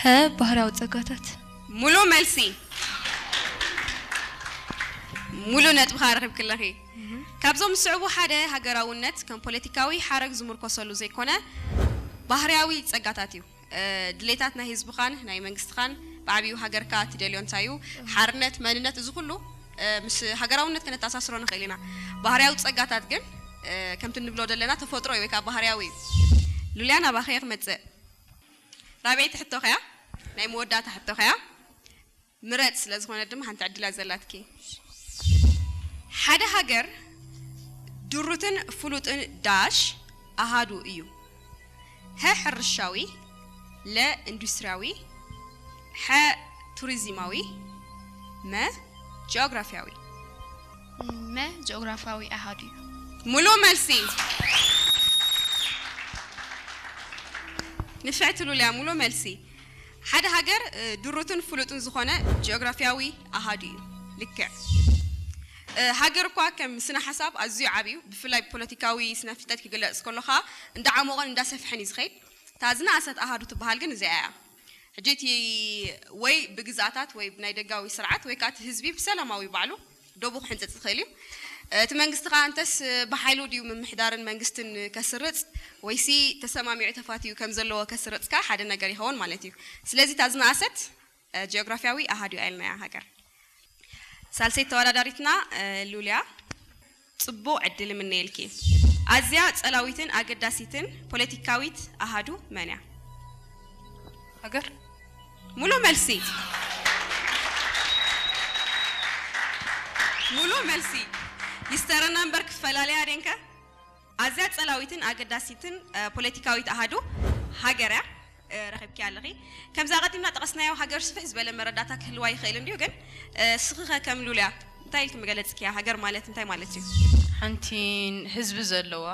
ሀ፣ ባህርያዊ ጸጋታት። ሙሉ መልሲ። ሙሉ ነጥብኻ ረኺብክለኺ። ካብዞም ዝስዕቡ ሓደ ሃገራውነት ከም ፖለቲካዊ ሓረግ ዝምርኮሰሉ ዘይኮነ ባህርያዊ ጸጋታት እዩ። እ፣ ድሌታት ናይ ህዝብኻን ናይ መንግስትኻን ብዓብዩ ሃገርካ ትደልዮ እንታይ እዩ? ሓርነት፣ መንነት፣ እዚ ኩሉ እ፣ ምስ ሃገራውነት ከነተኣሳስሮ ንኽእል ኢና። ባህርያዊ ጸጋታት ግን እ፣ ከምቲ ንብሎ ዘለና ተፈጥሮ እዩ ወይ ከዓ ባህርያዊ እዩ። ሉልያ ናባኸ እየ ክመጽእ። ራብዐይቲ ሕቶ ኸያ ናይ መወዳእታ ሕቶ ኸያ ምረጽ ስለ ዝኾነ ድማ ሓንቲ ዕድላ ዘላትኪ። ሓደ ሃገር ድሩትን ፍሉጥን ዳሽ ኣሃዱ እዩ። ሀ ሕርሻዊ፣ ለ ኢንዱስትሪያዊ፣ ሐ ቱሪዝማዊ፣ መ ጂኦግራፊያዊ። መ ጂኦግራፊያዊ ኣሃዱ እዩ። ሙሉ መልሲ። ንፍዕቲ ሉልያ ሙሉ መልሲ። ሓደ ሃገር እ፣ ድሩትን ፍሉጥን ዝኾነ ጂኦግራፊያዊ ኣሃዱ እዩ። ልክዕ። እ፣ ሃገር እኳ ከም ስነ ሓሳብ ኣዝዩ ዓብዩ፣ ብፍላይ ብፖለቲካዊ ስነ ፍልጠት ክግለጽ ከሎ ኸዓ እንዳዓሞቐን እንዳሰፍሐን እዩ ዝኸይድ። እታ ዝነኣሰት ኣሃዱ ትበሃል ግን እዚኣ እያ። ሕጂ እቲ ወይ ብግዛኣታት ወይ ብናይ ደጋዊ ስርዓት ወይ ከዓ እቲ ህዝቢ ብሰላማዊ ባዕሉ ዶቡ ክሕንፅፅ ይኽእል እዩ። እቲ መንግስቲ ከዓ እንተስ ብሓይሉ ድዩ ምምሕዳርን መንግስትን ከስርፅ ወይሲ ተሰማሚዑ ተፋትዩ ከም ዘለዎ ከስርፅ ከዓ ሓደ ነገር ይኸውን ማለት እዩ። ስለዚ እታ ዝነኣሰት እ፣ ጂኦግራፊያዊ ኣሃዱ እያ ኢልናያ ሃገር። ሳልሰይቲ ተወዳዳሪትና እ፣ ሉልያ ጽቡቕ ዕድል እምነየልኪ። ኣዝያ ጸላዊትን ኣገዳሲትን ፖለቲካዊት ኣሃዱ መን እያ? ሃገር። ሙሉ መልሲ። ሙሉ መልሲ። ይስተረና እምበር ክፈላለያ ደንከ? ኣዝያ ጸላዊትን ኣገዳሲትን እ፣ ፖለቲካዊት ኣሃዱ ሃገር እያ። እ፣ ረኺብኪ ኣለኺ። ከምዛ ቀዲምና ጠቐስናዮ ሃገር ስፍሕ ዝበለ መረዳእታ ክህልዋ ይኽእል እንድዩ፣ ግን እ፣ ስኺኸ ከም ሉልያ እንታይ ኢልኪ መገለጽኪያ? ሃገር ማለት እንታይ ማለት እዩ? ሓንቲ ህዝቢ ዘለዋ